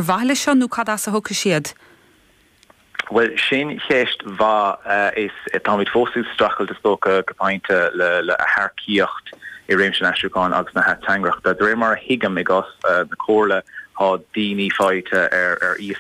mhaithe leis seo nó cad as a thiocfaidh siad? Bhuel, sin ceist mhaith. Is táimid fós ag streachailt, is dócha, go pointe le hearcaíocht i réimse an aistriúcháin agus na hateangaireachta. De réir mar a thuigim, i gcás na Comhairle, tá daoine faighte ar iasacht.